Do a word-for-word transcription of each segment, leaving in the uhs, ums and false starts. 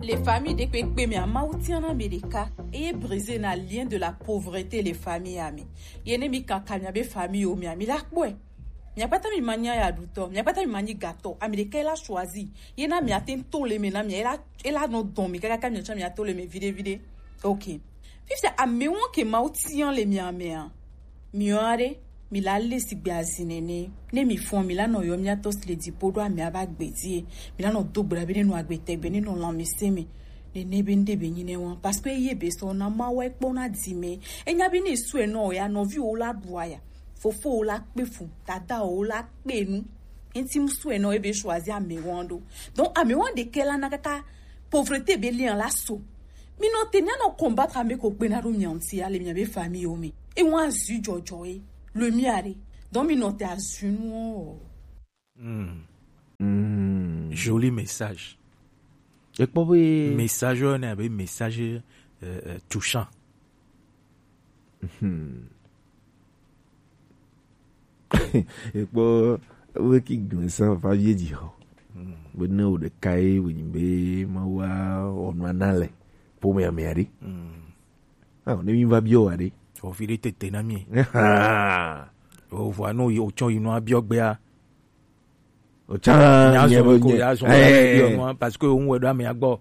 Le famille ɖekpekpe mea, Mawu tia na ame ɖeka eye brise na lien de la pauvreté le famille ame. Ye ne mi kaka miabe famille o mea, mi la kpɔe. Mia kpata mi ma nya ya ɖutɔ, mia kpata mi ma nyi gatɔ. Ame ɖeka la choisi. Ye na mia te to le me na mia, ela ela nɔ dɔn mi kaka mia tsɔ mia to le me vide vide. Ok. Fifia amewo ke Mawu tia le mia mea. Miɔ aɖe, mi la le sigbe azi nene. Ne mi fɔn, mi la nɔ yɔ mia tɔ si le dziƒo ɖo amea ba gbe die. Mi la nɔ do gbe ɖa be ne nɔ agbe tɛgbe, ne nɔ lãmesẽ me. Nene be ŋɖe be nyi ne wa. Parce que eye be sɔ na Mawu ekpɔ na di me. Enya be ne sue nɔ ya nɔvi wo la ɖu aya. Fofo wo la kpe fu, dada wo la kpe nu. Enti mu sue nɔ ebe choisi amewo ɖo. Donc amewo ɖeke la na kaka pauvreté be lien la so. Mi nɔ te mia nɔ combattre ame ko kpe na ɖo mia ŋuti ale mia be famille o me. E wan azu jɔjɔ e. Le mia ɖe. Donc mi nɔ te azu nu o. Hmm. Joli message. Ekpɔ be message ne abe message euh, euh, touchant. Ekpɔ be ki gblẽ sa va vie dzi xɔ. Be ne wo ɖeka ye wònyi be Mawu awɔ nua na le ƒomea mea ɖe. Ah, ne mi va biɔ wa ɖe. Ovi ɖe tete na mi. Ovua no yi otsɔ yi nua biɔ gbea. Otsã nya nye zɔn be ko nye ya zɔn eh, be nua parce que òun wɛ ɖo amea gbɔ.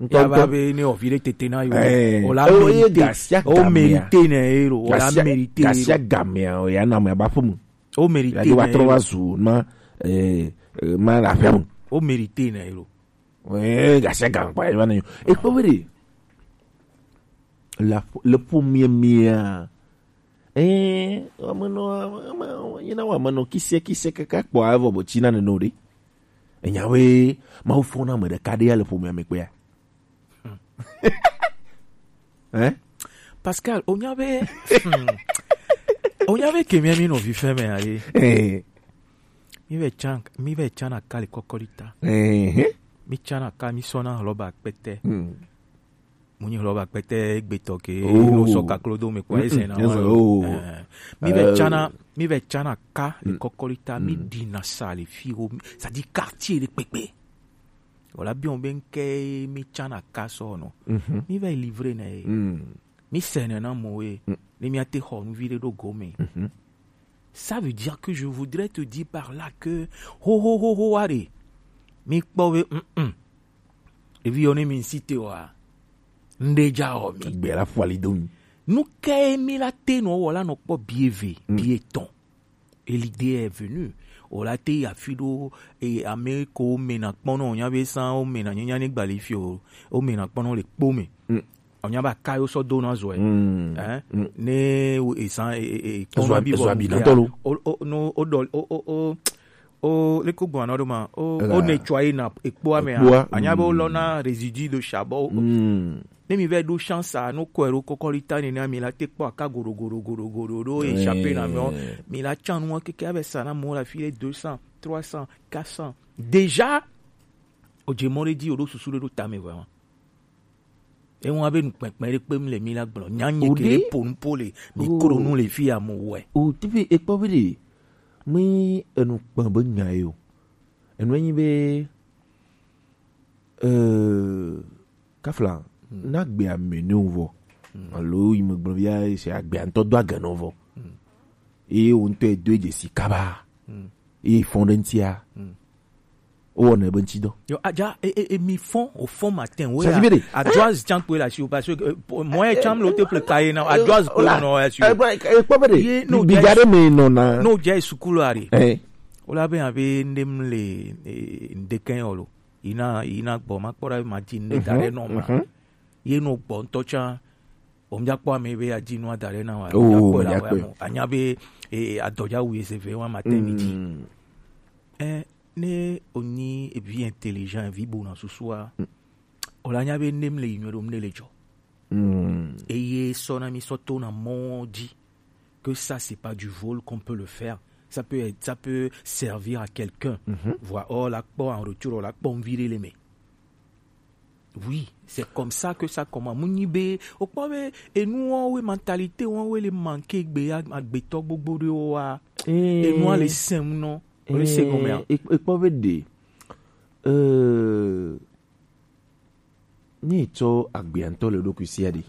Ŋutɔ Ya va ŋutɔ. Be ne ovi ɖe tete na yi Eh, o la o ye mérité gasia o gamea. Mérité ne ye lo o la Gasia mérité ye gasia lo. Gamea o ya na amea ba ƒomu. O mérité Ya ne do wa ye trɔ lo. Wa zu ma eh eh, ma la fia mu. O mérité ne ye lo. Eh gasia gam kwa ya na yo. E kpɔ be de. La le ƒomea mea. Ɛɛ, amenɔ, ame, yina wɔ amenɔ kisiɛ kisiɛ kaka kpɔ avɔ bɔ tsi na nene o ɖe. Enya be Mawu fɔ na ame ɖeka ɖe ya le ƒomea me kpea. Hein? Pascal, onya be, hmm, onya be kemia mi nɔvi fɛn me aye. Eh, Mi be tsan, mi be tsan na kali kɔkɔli ta. Eh, eh. Mi tsan na ka mi sɔ na hlɔba kpɛtɛ. Hmm. Mo nyi hlɔba kpɛtɛ egbetɔ ke Oh. No sɔ kaklo do me kpɔ ese na Mm, wa yes, lo. Oh. Eh, mi be Euh. Tsana, mi be tsana ka le Mm. Kɔkɔli ta mi Mm. Dina sa le fi wo, c'est-à-dire quartier le kpekpe. Wala bi on ben ke mi tsana ka so no. Mhm. Mi va livrer na ye. Mm. Mi sene na mo ye. Mm. Ni mi ate xɔ nu vi ɖe ɖo gome. Mhm. Ça veut dire que je voudrais te dire par là que ho ho ho ho are. Mi kpɔ be mm mm. Evi yɔ ne mi ŋsi te wa. Ŋɖe dza wɔ mi. Gbe la fɔ ali do mi. Nu kae mi la te nɔ wɔ la nɔ kpɔ bi eve, Mm. Bi etɔn. Et l'idée est venue. O la te yi afi ɖo e ame ko mena kpɔnɔ nya be san o mena nyanya ne gbali fi o o mena kpɔnɔ le kpo me. Mm. O nya ba ka yo sɔ do na zɔ ɛ. Mm. Hein? Mm. Ne o esan e e e Ezɔ kpɔnɔ abi, bi ezɔ bɔ abi mu na kea. Tɔ lo. O o no o dɔ o o o o leko gbɔn anɔ ɖo ma o Ela. O ne tsɔ ayi na ekpo ame Ekpoa, a anya be o lɔ mm. Na résidu de charbon. Mm. Ne mi vɛ ɖo chance a no kɔe ɖo kɔkɔli ta nene mi la te kpɔ aka goɖo goɖo goɖo goɖo ɖo échappé na mɛ o. Eh. Mi la tsan nu keke abɛ sa na mɔ la fi ɖe deux cents, trois cents, quatre cents. Déjà o dze mɔ ɖe dzi o ɖo susu ɖe ɖo tame vraiment. Ewa be nukpɛkpɛ ɖe kpem le mi la gblɔ nya nye Ode? Ke ɖe po nu po le mi O. Kro nu le fi ya mo wɛ. O teƒe ekpɔ be ɖe mi enu kpɔ be nya ye o. Enu enyi be euh, kafla na gbea me ne vɔ. Alo yi me gblɔ bia se agbea ŋutɔ do age nɔ vɔ. Eye wo ŋutɔ do dze si kaba. Eye fɔn ɖe ŋutia. O wɔna ebe ŋuti dɔ. Yo adja e e e mi fɔn o fɔn matin wo. Ça ya. Veut dire adjoise tsan kpe la si o parce que euh, moyen tsan lo te ple kaye na adjoise kpe no ya si o. Ekpɔ be de. Ye no bi ja de me no na. No ja sukulu are. Eh. O la be abe ndem le ndeken olo. Ina ina gbɔ ma kpɔ ɖa ma di ne da ɖe nɔ ma. Ye no gbɔ ŋutɔ tsã. Wo mía kpɔ ame be adi nua da ɖe na wa. Oh, mía kpɔ la wa mo. Anya be eh, adɔdza wu ese ve wa ma te mi di. Eh, ne o nyi evi intelligent, evi bona susua. O la nya be nem le yi nyuie ɖo, ne le dzɔ. Eye sɔ na mi sɔ to na mɔ dzi. Que ça, c'est pas du vol qu'on peut le faire. Ça peut être, ça peut servir à quelqu'un. Voilà, oh, la kpɔ en retour, la kpɔ envie de l'aimer. Oui, c'est comme ça que ça commence. Mu nyi be, o kpɔ be, enu wo we mentalité wo we le manquer gbe ya, agbetɔ gbogbo de wo wa. Enu a le sem no, o le se gome a. E kpɔ be de. Euh, Ne etsɔ agbea ŋutɔ le eɖokui sia ɖi.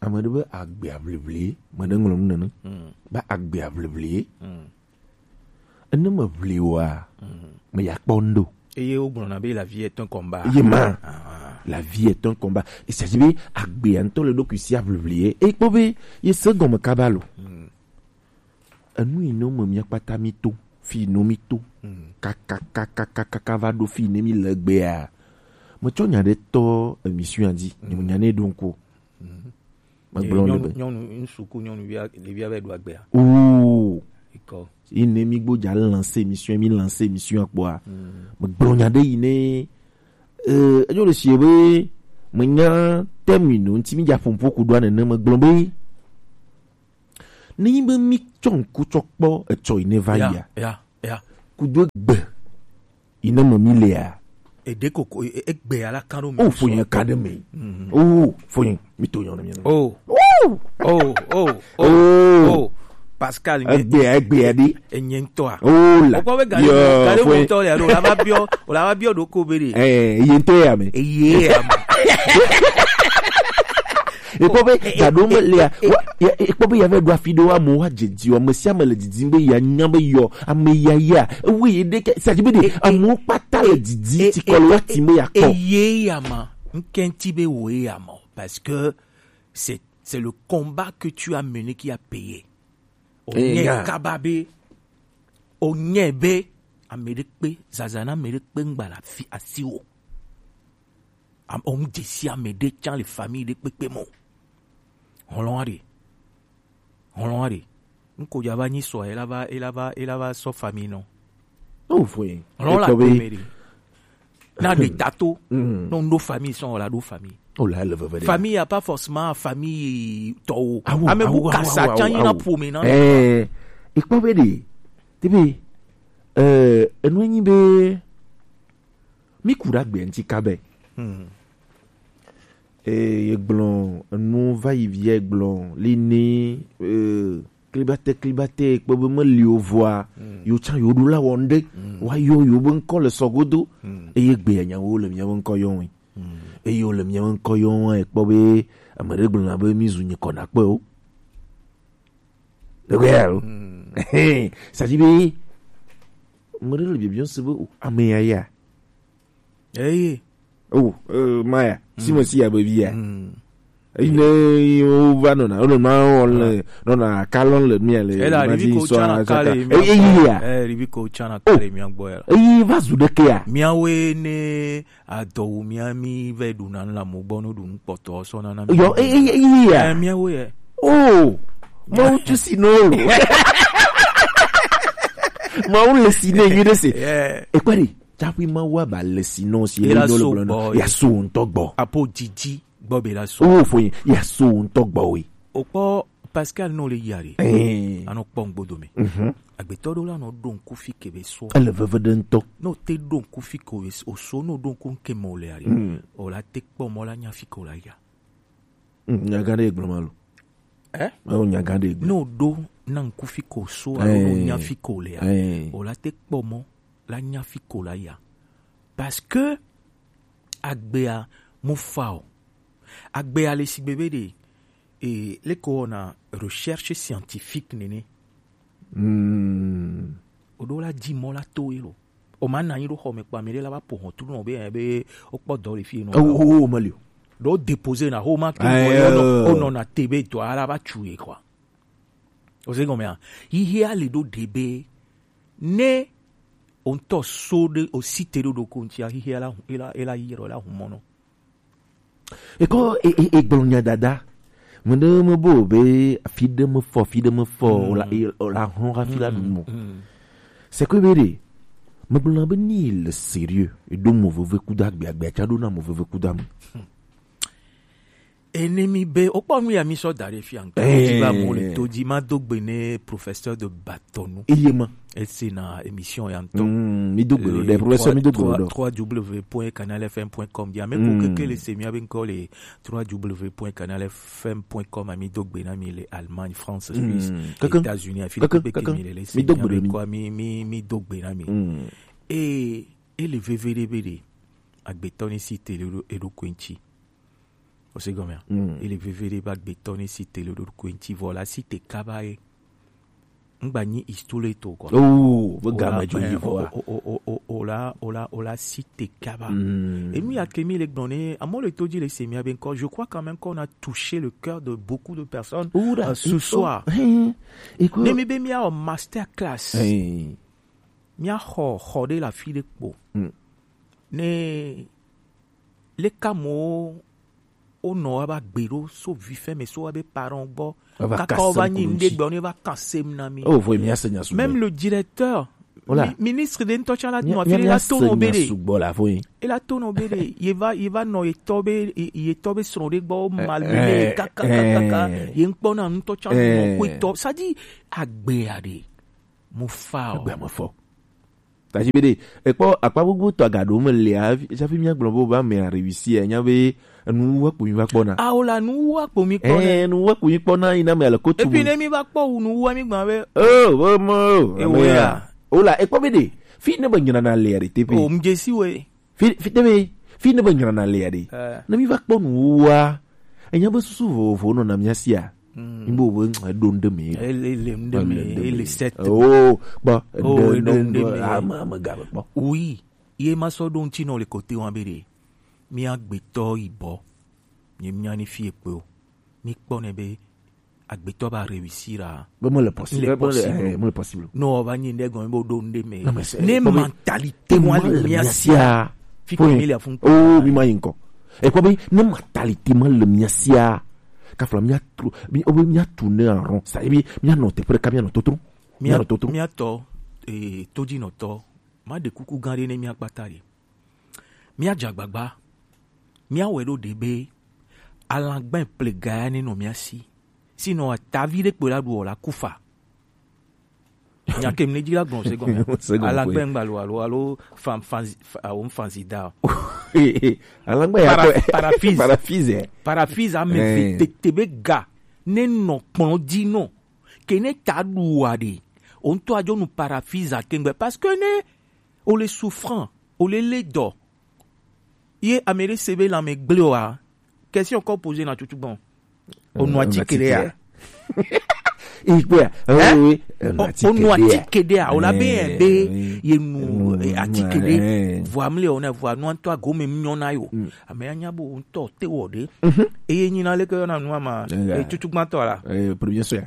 Ame ɖe be agbea ʋliʋli, me ɖe ŋlɔ nu nene. Be agbea ʋliʋli. Ene me ʋli oa, me ya kpɔ ŋɖo. Eye wogblɔna be la vie est un combat. Ye ma. La vie est un combat. Il s'agit be agbea ŋutɔ le eɖokui sia ʋliʋli ye. Eye kpɔ be ye se gɔme kaba lo. Enu yi ne me mía kpata mí to, fi yi ne mí to. Kakakakakaka va ɖo fi yi ne mí le egbea. Metsɔ nya ɖe tɔ émission dzi, nye me nya ne ɖo ŋku. Megblɔ le be. Nyɔnu, ŋutsu ku nyɔnuvia, ɖevia va ɖo agbea. Oo. Ikɔ. Yi ne mí gbɔ dza lance émission, mí lance émission kpɔa. Megblɔ nya ɖe yi ne, euh, enyo le sie be, menya thème yi no ŋuti mí dza ƒo ƒo ku ɖoa nene, megblɔ be. Ne nyi be mí tsɔ ŋku tsɔ kpɔ etsɔ yi ne va yia. Ya, ya, ya. Kudo egbe yi ne me mí lea. Eɖe koko, e-, egbe ala kan ɖo mi. Oh, fo yẹn ka ɖe mi. Oh, fo yẹn, mi to yẹn mi. Oh. Oh, oh, oh, oh, oh. Pascal, mi. Egbe, egbe ɖi. Enye ŋutɔa. Oh la. Okpɔ be gari, gari ŋutɔ le alo, la va biɔ, la va biɔ ɖo ko be ɖe. Eh, ye ŋutɔ ya me. Eye ya me. Ekpɔ be gaɖo me lea, ekpɔ be ya va ɖo afi ɖewo amewo wa dzedzi o, ame sia ame le didim be ya nya be yɔ, ame ya ya, ewe ye ɖe ke, c'est-à-dire be ɖe, amewo kpata le didi ti kɔ le wa ti me ya kɔ. Eye ya ma, ŋkɛnti be wo ye ya ma, parce que c'est, c'est le combat que tu as mené qui a payé. O nye kaba be, o nye be, ame ɖe kpe, zazana ame ɖe kpe ŋgba la fi asi o. Am-, o ŋdze si ame ɖe tsã le famille ɖe kpekpe me o. Hlɔ̃a ɖe. Hlɔ̃a ɖe. Ŋko dza va nyi sɔ, ela va, ela va, ela va sɔ famille nɔ. Oh, foi. Hlɔ̃ la to me ɖe. Na ɖe tato. No ŋɖo famille sɔn o la ɖo famille. O la le veve ɖe. Famille ya pas forcément famille tɔwo. Awo, ame bu awo, kasa awo, tsã awo, nyi na awo. Ƒome na. Eh, ekpɔ be ɖe. Tebe, eh, enu nyi be, mi ku ɖe agbe ŋuti kabe. Hmm. Eye gblɔ enu va yi vie gblɔ li ni, eh, klibate, klibate, kpɔ be meli o vɔa, yo tsã yo ɖo la wɔ ŋɖe, wa yɔ yo be ŋkɔ le sɔgodo, eye gbe ya nyawo le miawo ŋkɔ yɔ ŋui. Eye wo le miawo ŋkɔ yɔ ŋua, ekpɔ be ame ɖe gblɔna be mi zu nyikɔ na kpe o. Ɖe gbe ya o. C'est-à-dire be, ame ɖe le bibiɔ se be, o, ame ya ya. Eye. Oh, euh, Maya, si me si ya be via. Eyi ne wo va nɔna, wo nɔna, wo le, nɔna kalɔn le mia le. Ela, ma rivi di ko so tsana a kale saka. Mia. Eyi ya. Eh, rivi ko tsana kale mia gbɔ ya. Eyi va zu ɖeke ya. Miawoe ne adɔwu mia mi vɛ ɖuna nu le amewo gbɔ no ɖu nu kpɔtɔ sɔ na na mi. Yo, eyi, eyi ya. Eh, miawoe ya. Oh, Mawu tu si no lo. Mawu le si ne yi de se. Yeah. Ekpari. Tsaƒe Mawu aba le si nɔ si ele nɔ le gblɔ nɔ, ya so ŋutɔ gbɔ. Apo dzidzi gbɔ be la so. Wo fo ya so ŋutɔ gbɔ we. O kpɔ Pascal nɔ le yia re. Eh. Anɔ kpɔ ŋgbodo me. Mhm. Agbetɔ ɖo la nɔ ɖo ŋku fi ke be so. Ele veve ɖe ŋutɔ. Nɔ te ɖo ŋku fi ke o so, nɔ ɖo ŋku ke mɔ le yare. Mm. O la te kpɔ mɔ la nya fi ke o la ya. Mm, nya gã ɖe gblɔ ma lo. Eh? Alo nya gã ɖe gblɔ. No ɖo na ŋku fi ko so, alo no nya fi ko lea. Eh. O la te kpɔ mɔ, la nya fi ko la ya. Parce que agbea mo fa o. Agbea le sigbe be ɖe, e, le ko na recherche scientifique nene. Hmm. O ɖo la dzi mɔ la to ye lo. O ma na anyi ɖo xɔ me kpa mi ɖe la va po hɔn tu nɔ be, eh, be o kpɔ dɔ le fi nɔ. O, o, o, ma li o. Ɖo déposer na ho ma ke o nɔ na te be dɔ ala va tu ye quoi. O se gɔmea. Yi he a le ɖo de be ne o ŋutɔ so ɖe o si te ɖo ɖo ko ŋutia, yi he a la, e la, e la yi ɖo la hu mɔ nɔ. Ekɔ e, e, e gblɔ nya dada. Mende me bo be afi ɖe me fɔ, afi ɖe me fɔ, o la, e, o la hlɔ̃ hafi la ɖu mo. C'est que be ɖe, me gblɔ na be ni le sérieux, e ɖo mo veve kudo agbe, agbe tsa ɖo na mo veve kudo ame. Ene mi be, o kpɔ nu ya mi sɔ da ɖe fia ŋutɔ. Eh. Ti ba mo le to dzi, ma do gbe ne professeur de bâtonneau. Eye ma. Esi na émission ya ŋutɔ. Mm, mi do gbe ɖo ɖe, professeur, mi do gbe ɖo ɖe. trois w w w point canal f m point com. Dia me ko keke le se mi abe ŋkɔ le trois w w w point canal f m point com, ami do gbe na mi le Allemagne, France, Suisse, États-Unis, afi keke mi le le se mi do gbe na mi. E, e le veve ɖe be ɖe. Agbetɔ ni si te le ɖo eɖokui ŋuti. O se gɔmea? Mm. Ele veve ɖe be agbetɔ ni si te le eɖokui ŋuti vɔ la si te kaba ye. Ŋgba nyi istole to quoi. Oh, be game dzo yi vɔa. O la, o la, o la si te kaba. Mm. Et nous, il y a Kemi le gblɔ ne, amewo le to dzi le se mia be encore, je crois quand même qu'on a touché le cœur de beaucoup de personnes euh, ce soir. Hein. Ne mi be mia o master class. Hein. Mia xɔ xɔ ɖe le afi ɖe kpo. Mm. Ne leka mo wonɔ wa va gbe ɖo so vifɛ me so wa be parent gbɔ. Kaka wo va nyi ŋɖe gbɔ ne va kan sem na mi. Oh, voye mia se nya sugbɔ. Même le directeur, Ola. Mi- ministre de ŋutɔ tsã la nɔ afi ɖe la to nɔ be ɖe. Sugbɔ la voye. E la to nɔ be ɖe. Ye va ye va nɔ ye tɔ be ye tɔ be srɔ̃ ɖe gbɔ malmene kaka kaka ye ŋkpɔ na ŋutɔ tsã nɔ ko tɔ. Ça dit agbe ya ɖe. Mo fa o. Agbe mo fɔ. Tasi be ɖe, ekpɔ akpa gbogbo tɔ aga ɖo me lea, tsafi mia gblɔ be wobe ame a réussi, enya be enu wu akpo mi va kpɔna. Awo la nu wu akpo mi kpɔna. Eh, enu wu akpo mi kpɔna yi na me ale ko tu. Epi ne mi va kpɔ wu nu wu mi gba be. Oh, wo mo. Ewo ya. Ola, ekpɔ be ɖe, fi ne be nyina na le ɖe te pe. O mjesi we. Fi fi te be, fi ne be nyina na le ɖe. Eh. Ne mi va kpɔ nu wua, enya be susu vovovo nɔ na mia sia. Mm. Ŋgbe wo be ɖo ŋɖe me. Ele ele ŋɖe me, ele set. Oh, kpɔ. Oh, ɖo ŋɖe me. Ame ame ga be kpɔ. Oui, ye ma sɔ ɖo ŋuti nɔ le kote wa be ɖe. Mia gbetɔ yibɔ. Nye mia ni fi ekpe o. Mi kpɔ ne be agbetɔ ba réussir a. Be mele possible. Mele possible. Eh, mele possible. No, va nyi ŋɖe gɔme be ɖo ŋɖe me. Ne mentalité wa le mia sia. Fi ke mi le afun. Oh, mi ma yi ŋkɔ. Ekpɔ be ne mentalité ma le mia sia. Kafla mia tro, mi o be mia tu ne aron. Sa ebi mia nɔ teƒe ɖeka mia nɔ totro. Mia nɔ totro. Mia tɔ eh todzi nɔ tɔ. Ma de kuku gã ɖe ne mia kpata ɖe. Mia dze agbagba. Mia wɛ ɖo ɖe be alagba plega ya ne nɔ mia si. Sinɔ atavi ɖe kpo la ɖu o la kufa. Nya ke mne dzi la gblɔ se gɔme. Alagba ŋgba lo alo alo fan fan awo fan zida. Alagba ya Para- ko- paraphase. Paraphase. Paraphase ame Eh. Ve te te be ga ne nɔ kplɔ dzi nɔ ke ne ta ɖu wa ɖe o ŋutɔ adzo nu paraphase akengbe parce que ne o le souffrant o le le dɔ ye ame ɖe se be lãme gblẽ oa question kɔ poser na tutu gbɔn. Onu atike ɖe ya. Ikpea. Hein? Oh, oui. Onu atike ɖe ya o la be Eh, be oui. Ye nu eh, atike ɖe vɔ amle o na vɔ anu ŋutɔ agome nyɔ na yo ame anya bo ŋutɔ te wɔ ɖe eye nyina leke yɔ na nu ama eh, tutu gbãtɔ la. Eh, premier soin.